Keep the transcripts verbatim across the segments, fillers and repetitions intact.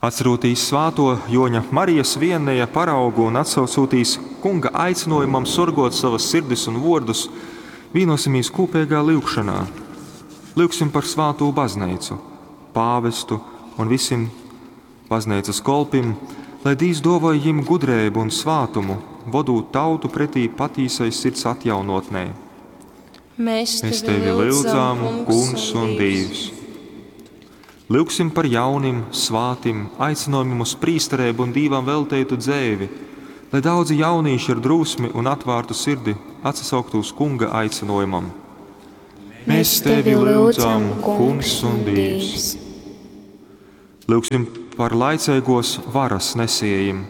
Atcerotīs svāto Joņa Marijas Vienneja paraugu un atsaucūtīs Kunga aicinojumam sorgot savas sirdis un vōrdus, vīnosimies kūpeigā lyugšonā. Lyugsim par svātū bazneicu, pāvestu un visim bazneicas kolpim, lai Dīvs dōvoj jim gudreibu un svātumu, vodūt tautu pretī patīsai sirds atjaunotnei. Mēs Mēs tevi lyudzam, Kungs un Dīvs. Lyugsim par jaunim, svātim, aicinojumim uz prīstereibu un Dīvam velteitu dzeivi, lai daudzi jaunīši ar drūsmi un atvārtu sirdi atsasauktu uz Kunga aicinojumam. Mēs tevi lyudzam, Kungs un Dīvs. Lyugsim par laiceigos varas nesiejim,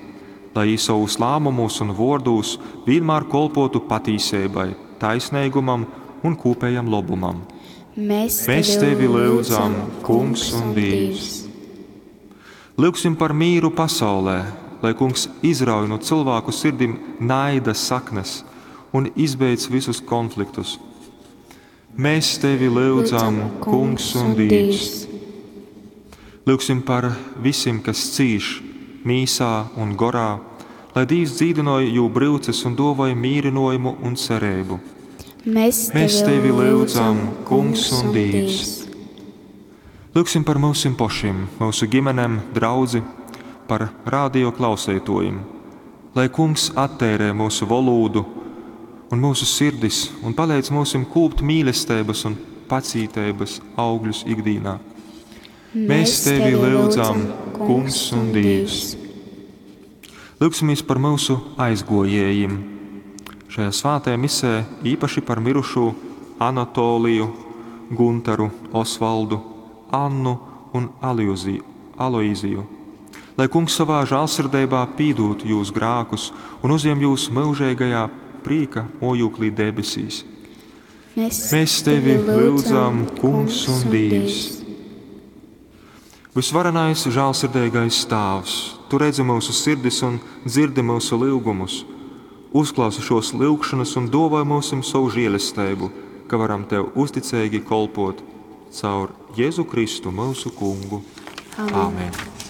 lai jī sovūs lāmumūs un vōrdūs vienmēr kolpotu patīseibai, taisneigumam un kūpējam lobumam. Mēs Mēs tevi lyudzam, Kungs un Dīvs. Lyugsim par mīru pasaulē, lai Kungs izrauj no cilvēku sirdim naida saknes un izbeidz visus konfliktus. Mēs tevi lyudzam, Kungs un Dīvs. Lyugsim par visiem, kas cīš mīsā un gorā, lai Dīvs dzīdinoj jū bryuces un dovoj mīrinojumu un cerību. Mēs Mēs tevi lyudzam, Kungs un Dīvs. Lyugsim par mūsim pošim, mūsu ģimenēm, draudzi, par radio klausētojiem, lai Kungs attērē mūsu valodu un mūsu sirdis un palīdz mūsim kūpt mīlestības un pacītības augļus ikdienā. Mēs tevi lyudzam, Kungs un Dīvs. Lūgsimies par mūsu aizgojējiem. Šajā svētajā misē īpaši par mirušo Anatoliju, Guntaru, Osvaldu, Annu un Aliuziju, Aloiziju. Lai Kungs savā žēlsirdībā pīdūt jūs grākus un uzņem jūs mūžīgajā prieka mojūklī debesīs. Mēs, Mēs tevi lyudzam, Kungs un Dīvs. Visvarenais, žēlsirdīgais Tēvs, Tu redzi mūsu sirdis un dzirdi mūsu lūgumus. Uzklausi šos lūgšanas un dāvā mums savu žēlastību, ka varam Tev uzticīgi kalpot caur Jēzu Kristu, mūsu Kungu. Āmen. Āmen.